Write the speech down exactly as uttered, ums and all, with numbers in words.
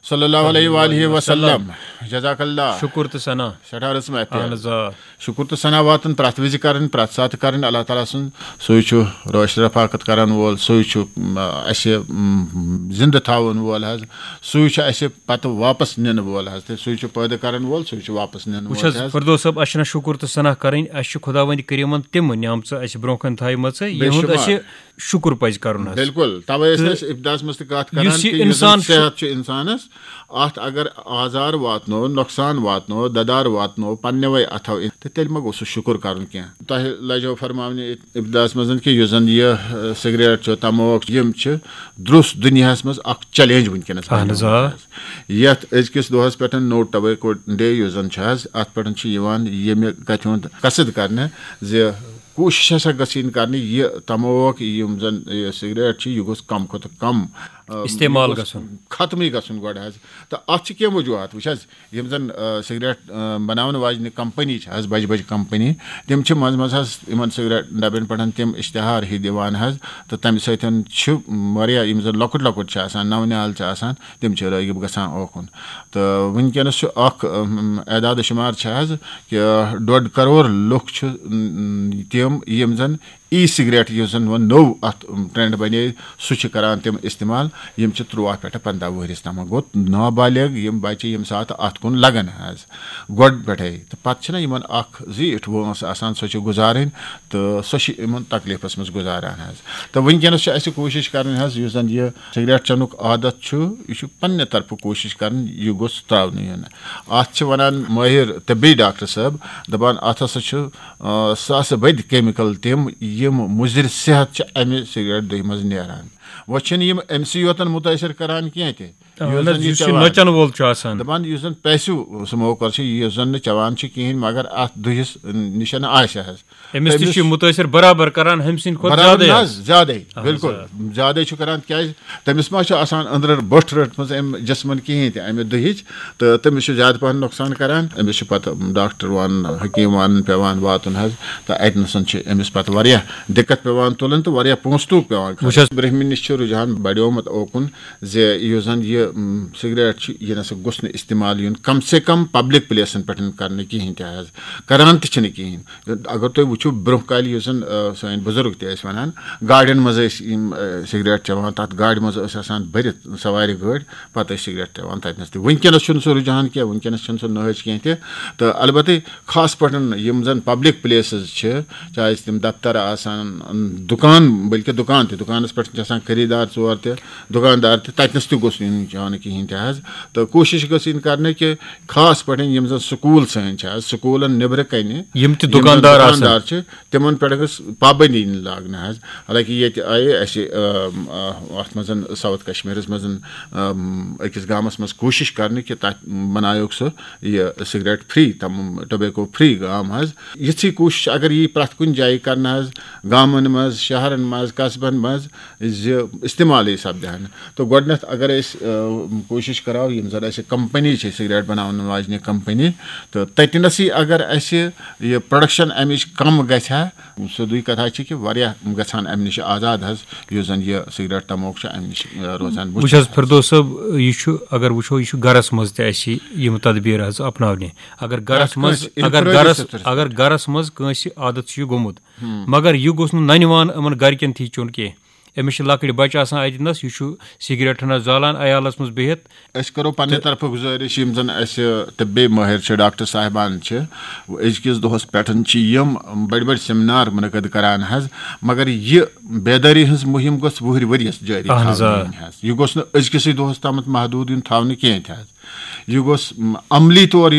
صلی اللہ علیہ وآلہ وسلم۔ جزاک اللہ۔ شکر تہٕ ثنا۔ سٮ۪ٹھاہ رٕژ محفل۔ اہن حظ، آ۔ شکر تہٕ ثنا واتُن پرٛٮ۪تھ وِزِ کَرٕنۍ، پرٛٮ۪تھ ساتہٕ کَرٕنۍ۔ اللہ تعالیٰ سُنٛد، سُے چھُ رٲچھ رفاقت کَرَن وول، سُے چھُ، م، اَسہِ، م، زِندٕ تھاوَن وول حظ، سُے چھُ اَسہِ پَتہٕ واپَس نِنہٕ وول حظ، تہٕ سُے چھُ پٲدٕ کَرَن وول، سُے چھُ واپَس نِنہٕ وٕچھ وول حظ، حظ۔ فردوس صٲب، اَسہِ چھِنہ شکر تہٕ ثنا کَرٕنۍ، اَسہِ چھِ خۄداوندِ کریٖمَن تِم نعمژٕ اَسہِ برونٛہہ کَنہِ تھایمَژٕ، بے یِہُنٛد شُمار۔ اَسہِ شُکُر پَزِ کَرُن حظ۔ بِلکُل، تَوَے ٲسۍ تہٕ أسۍ ابتداہَس منٛز تہِ کَتھ کَران یُس یہِ کہِ یُس زَن اِنسان چھُ صحت چھُ اِنسانَس، اَتھ اگر آزار واتنو، نۄقصان واتنو، دَدار واتنو پنٛنٮ۪وَے اَتھو، تہٕ تیٚلہِ ما گوٚو سُہ شُکُر کَرُن کینٛہہ؟ تۄہہِ لَجیو فرماونہِ ابتداہَس منٛز کہِ یُس زَن یہِ، اَ، سِگریٹ چھُ، تموک چھُ، یِم چھِ درٛوس دُنیاہَس منٛز اَکھ چیلنج وٕنکیٚنَس اہن حظ، بنیومُت آ۔ حظ۔ یَتھ أزکِس دۄہَس پٮ۪ٹھ نو ٹوبیکو ڈے یُس زَن چھُ حظ، اَتھ پٮ۪ٹھ چھُ یِوان ییٚمہِ کَتھِ ہُنٛد قصد کَرنہٕ زِ کوٗشِش ہسا گٔژھ یِنۍ کرنہٕ، یہِ تموک، یِم زن یہِ سگریٹ چھِ، یہِ گوٚژھ کم کھۄتہٕ کم، آ، استعمال یہِ گوٚژھ گژھُن۔ ختمٕے گژھُن گۄڈٕ حظ۔ تہٕ اتھ چھِ کینٛہہ وجوہات۔ وٕچھ حظ، یِم زن، آ، سگریٹ، آ، بناون واجنہِ کمپنی چھِ حظ، بجہِ بجہِ کمپنی، تِم چھِ منٛزٕ منٛزٕ حظ یِمن سگریٹ ڈبن پٮ۪ٹھ تِم اشتہار ہی دِوان حظ۔ تہٕ تمہِ سۭتۍ چھِ واریاہ، یِم زن لۄکٕٹۍ لۄکٕٹۍ چھِ آسان، نو نال چھِ آسان، تِم چھِ رٲغب گژھان اوکُن۔ تہٕ وٕنکیٚنَس چھُ اکھ، اہم، اعداد و شمار چھِ حظ کہِ ڈۄڈ کرور لُکھ چھِ، ام، تِم، یِم زَن ای سگریٹ، یُس زَن وۄنۍ نوٚو اَتھ، ام، ٹرینڈ بنے، سُہ چھِ کران تِم استعمال۔ یِم چھِ تُرٛواہ پٮ۪ٹھ پنٛداہ وُہرِس تام۔ گوٚو نابالغ یِم بچہِ ییٚمہِ ساتہٕ اَتھ کُن لگان حظ گۄڈٕ پٮ۪ٹھَے، تہٕ پَتہٕ چھِنہ یِمَن اَکھ زیٖٹھ وٲنٛس آسان، سۄ چھِ گُزارٕنۍ، تہٕ سۄ چھِ یِمَن تکلیٖفَس منٛز گُزاران حظ۔ تہٕ وٕنکیٚنَس چھِ اَسہِ کوٗشِش کَرٕنۍ حظ، یُس زَن یہِ سگریٹ چٮ۪نُک عادت چھُ، یہِ چھُ پننہِ طرفہٕ کوٗشِش کرٕنۍ، یہِ گوٚژھ ترٛاونہٕ یُن۔ اَتھ چھِ وَنان مٲہِر طبی ڈاکٹر صٲب، دَپان، اَتھ ہسا چھُ، آ، ساسہٕ بٔدۍ کیمِکل تِم، یِم مُضِر صحت چھِ اَمہِ سگریٹ دٕہہِ منٛز نیران۔ وۄنۍ چھِنہٕ یِم أمۍ سٕے یوتن مُتٲثر کران کینٛہہ تہِ۔ اہن یُس حظ، زَن یہِ یُس یہِ چٮ۪وان نۄچَن وول چھُ آسان۔ دَپان، یُس زَن پیسِو سموکر چھُ، یُس زَن نہٕ چٮ۪وان چھُ کِہیٖنۍ، مگر اَتھ دٕہِس نِش آسہِ حظ۔ أمِس تہِ تٔمِس چھُ یہِ مُتٲثر برابر کران ہُمہِ سٕنٛدِ کھۄتہٕ برابر زیادَے نہ حظ۔ حظ، زیادَے، اہن حظ، بِلکُل۔ آ۔ زیادَے چھُ کران، کیٛازِ تٔمِس ما چھُ آسان أنٛدرٕ بٔٹھ رٔٹمٕژ اَمہِ جسمَن کِہیٖنۍ تہِ، اَمہِ دُہِچ، تہٕ تٔمِس چھُ زیادٕ پَہَن نۄقصان کران۔ أمِس چھُ پَتہٕ ڈاکٹر وَنُن، حکیٖم وَنُن پٮ۪وان واتُن حظ، تہٕ اَتہِ نَسَن چھِ أمِس پَتہٕ واریاہ دِقت پٮ۪وان تُلٕنۍ تہٕ واریاہ پونٛسہٕ توٗک پٮ۪وان خرچ۔ وٕچھ حظ۔ برٛنٛہمہِ نِش چھُ رُجحان بڑیومُت اوکُن زِ یُس زَن یہِ، م، سگریٹ چھُ، یہِ نَسا گوٚژھ نہٕ استعمال یُن، کم سے کم پبلک پلیسَن پٮ۪ٹھ کرنہٕ کِہیٖنۍ تہِ حظ، کران تہِ چھِنہٕ کِہیٖنۍ۔ اگر تُہۍ وٕچھِو، برونٛہہ کالہِ یُس زَن، آ، سٲنۍ بُزرگ تہِ ٲسۍ وَنان، گاڑٮ۪ن منٛز ٲسۍ یِم، آ، سگریٹ چٮ۪وان، تَتھ گاڑِ منٛز ٲسۍ آسان بٔرِتھ سوارِ گٲڑۍ، پَتہٕ ٲسۍ سگریٹ چٮ۪وان تَتہِ نَس تہِ۔ وٕنکیٚنَس چھُنہٕ سُہ رُجحان کینٛہہ، وٕنکیٚنَس چھُنہٕ سُہ نٲج کینٛہہ تہِ۔ تہٕ البتہ خاص پٲٹھۍ یِم زَن پبلک پلیسز چھِ، چاہے تِم دفتر آسَن، دُکان، بلکہِ دُکان تہِ، دُکانَس پٮ۪ٹھ چھِ آسان خریٖدار ژور تہِ، دُکاندار تہِ، تَتہِ نَس تہِ گوٚژھ یُن چٮ۪ونہٕ کِہیٖنۍ تہِ حظ۔ تہٕ کوٗشِش گٔژھ یِنۍ کَرنہٕ کہِ خاص پٲٹھۍ یِم زَن سکوٗل سٲنۍ چھِ حظ، سکوٗلَن نیٚبرٕ کَنہِ یِم تہِ یِم زَن دُکاندار آسَن۔ دُکاندار چھِ، تِمَن پٮ۪ٹھ گٔژھ پابندی یِنۍ لاگنہٕ حظ۔ حالانکہ ییٚتہِ آیہِ اَسہِ، آم، آ، اَتھ منٛز ساوُتھ کشمیٖرَس منٛز، آم، أکِس گامَس منٛز کوٗشِش کرنہٕ کہِ تَتھ بَناوُکھ سُہ یہِ سگریٹ فری، تَم ٹوبیکو فری گام حظ۔ یِژھٕے کوٗشِش اگر یی پرٛٮ۪تھ کُنہِ جایہِ کرنہٕ حظ، گامَن منٛز، شہرَن منٛز، قصبَن منٛز، زِ استعمالٕے سپدِ ہا نہٕ۔ تہٕ گۄڈٕنٮ۪تھ اگر أسۍ، آ، کوٗشِش کرو، یِم زَن اَسہِ کمپنی چھِ سگریٹ بَناونہٕ واجنہِ کمپنی، تہٕ تَتہِ نَسٕے اگر اَسہِ یہِ پروڈکشن اَمِچ کم گژھِ ہا، سیوٚدُے کتھا چھِ کہِ واریاہ گژھان امہِ نِش آزاد حظ، یُس زن یہِ سگریٹ تموک چھُ امہِ نِش، آ، روزان۔ بہٕ وٕچھ حظ، فردوس صٲب، یہِ چھُ، اگر وٕچھو، یہِ چھُ گرس منٛز تہِ اَسہِ یِم تدبیٖر حظ اپناونہِ۔ اگر گرس پرٛٮ۪تھ منٛز، کٲنٛسہِ اگر انفرٲدی گرس، سطحس اگر پٮ۪ٹھ۔ گرس منٛز کٲنٛسہِ عادت چھُ یہِ گوٚمُت، ہُم۔ مگر یہِ گوٚژھ نہٕ ننہِ وان یِمن گرِکٮ۪ن تھی چیوٚن کینٛہہ۔ أمِس چھِ لۄکٕٹۍ بچہِ آسان اَتہِ نَس، یہِ چھُ سگریٹ ہنا زالان، عیالس منٛز بِہِتھ۔ أسۍ کرو پننہِ تہٕ طرفہٕ گُزٲرِش، یِم زن اَسہِ طبی مٲہِر چھِ، ڈاکٹر صاحبان چھِ، أزکِس دۄہس پٮ۪ٹھ چھِ یِم بٔڑۍ بٔڑۍ سیمینار منعقد کران حظ، مگر یہِ بیدٲری ہٕنٛز مُہِم گٔژھ وُہرۍ ؤرۍیَس جٲری اہن حظ، آ۔ تھاونہٕ یِنۍ حظ۔ یہِ گوٚژھ نہٕ أزکِسٕے دۄہس تامَتھ محدوٗد یُن تھاونہٕ کینٛہہ تہِ حظ۔ یہِ گوٚژھ، م، عملی طور یُن